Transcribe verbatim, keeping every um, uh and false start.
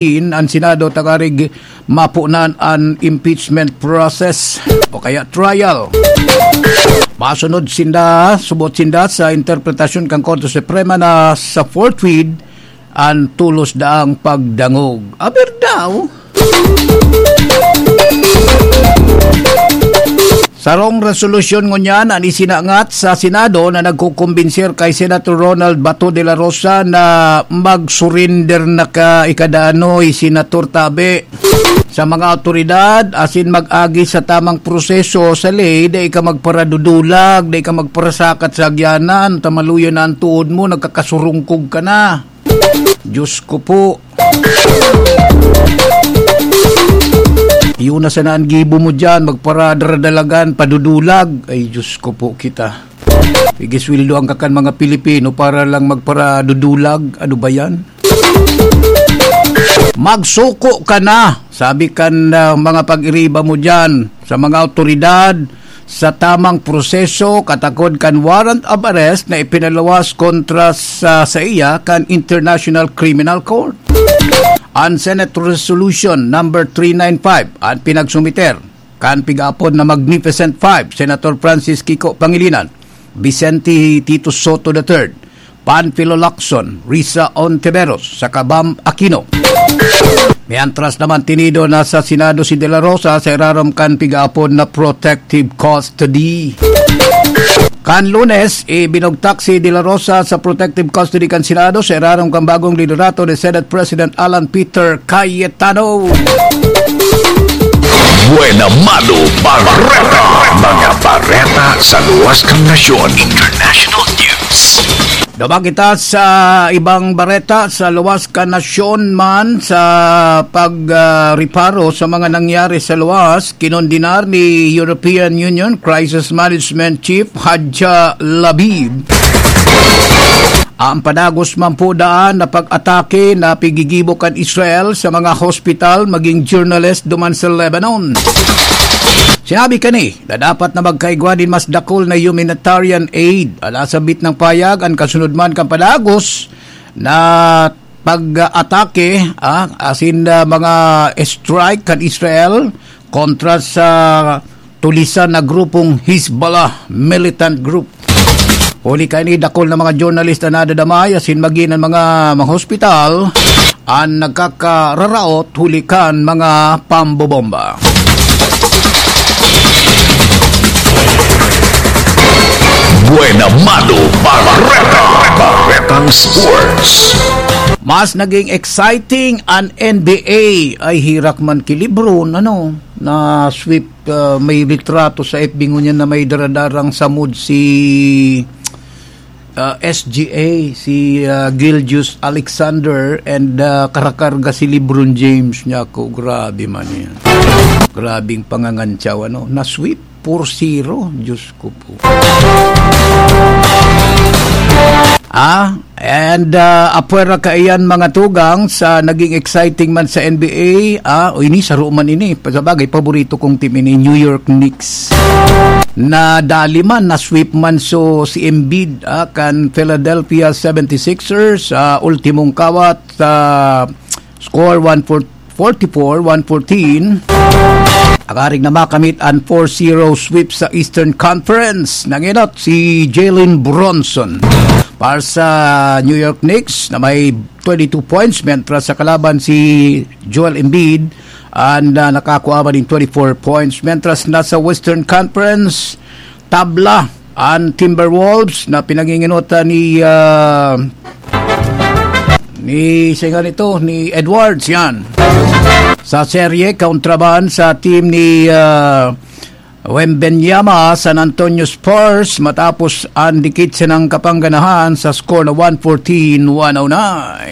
in an Senado tangarig mapunan an impeachment process o kaya trial. Masunod sinda, subot sinda sa interpretasyon kan Korte Suprema na sa fourth with an tulos daang pagdangog. Aber daw? Sarong resolusyon ngunyan an isinangat sa Senado na nagkukumbinser kay Senator Ronald Bato de la Rosa na mag-surrender na ka ikadaanoy, Senator, tabi sa mga awtoridad, asin mag-agi sa tamang proseso sa ley, dai ka magparadudulag, dai ka magparasakat sa agyanan, ta maluya na an tuhod mo, nagkakasurungkog ka na. Diyos ko po. Yun na sana ang gibo mo dyan, magparadradalagan, padudulag. Ay, Diyos ko po kita. Pigisweldoan ka kan mga Pilipino para lang magparadudulag. Ano ba yan? Magsuko ka na, sabi kan, ah, mga pag-iriba mo dyan sa mga awtoridad sa tamang proseso katakod kan warrant of arrest na ipinaluwas kontra sa, sa iya kan International Criminal Court. An Senate Resolution number three nine five an pinagsumiter kan pig-aapod na Magnificent Five, Senator Francis Kiko Pangilinan, Vicente Tito Sotto the third, Panfilo Lacson, Risa Ontiveros, saka Bam Aquino. Mientras naman, tinido na sa Senado si De La Rosa sa irarom kan pig-aapod na protective custody. Kan Lunes, ibinugtak si De La Rosa sa protective custody kan Senado sa irarom kan bagong liderato ni Senate President Alan Peter Cayetano. Buena Mano Bareta. Mga bareta sa luwas kan nasyon. International news. Duman kita sa ibang bareta sa luwas kan nasyon man sa pag, ah, reparo sa mga nangyari sa luwas, kinondenar ni European Union Crisis Management Chief Hadja Labib ang padagos man po daan na pag-atake na pigigibo kan Israel sa mga hospital maging journalist duman sa Lebanon. Sinabi kani na dapat na magkaigwa nin mas dakul na humanitarian aid. Ala, sabit ng payag, an kasunod man kan padagos na pag-atake, ah, asin, ah, mga strike kan Israel kontra sa tulisan na grupong Hezbollah militant group. Huli kaini, dakul na mga journalist an nadadamay, asin magin an mga, mga hospital an nagkakararaot huli kan mga pambobomba. Buena Mano Bareta. Baretang Sports. Mas naging exciting an N B A. Ay, herak man ki Lebron, ano, na sweep, ah, may litrato sa F B ngunyan na may daradarang samod si, ah, S G A, si, ah, Gilgeous Alexander, and, ah, karakarga si Lebron James niya ako. Grabe man yan. Grabing pangangantsaw, ano? Na-sweep four zero. Diyos ko po. Ah, and, ah, apwera kaiyan, mga tugang, sa naging exciting man sa N B A, ah, o ini, saro man ini. Sa bagay, paborito kong team ini, New York Knicks. Nadali man, na-sweep man so si Embiid, ah, kan Philadelphia seventy-sixers, sa ultimong kawat, sa score one forty-four, one fourteen. Akarig na makamit an four zero sweep sa Eastern Conference. Nangenot si Jalen Brunson para sa New York Knicks na may twenty-two points, mientras sa kalaban si Joel Embiid, and, ah, nakakuha man nin twenty-four points. Mientras na sa Western Conference, tabla an Timberwolves na pinanginginutan ni, ah, ni, singa nito, ni Edwards, yan. Sa serye, kontra man sa team ni, ah, Wembanyama, San Antonio Spurs, matapos an dikit sanang kapangganahan sa score na one fourteen one oh nine.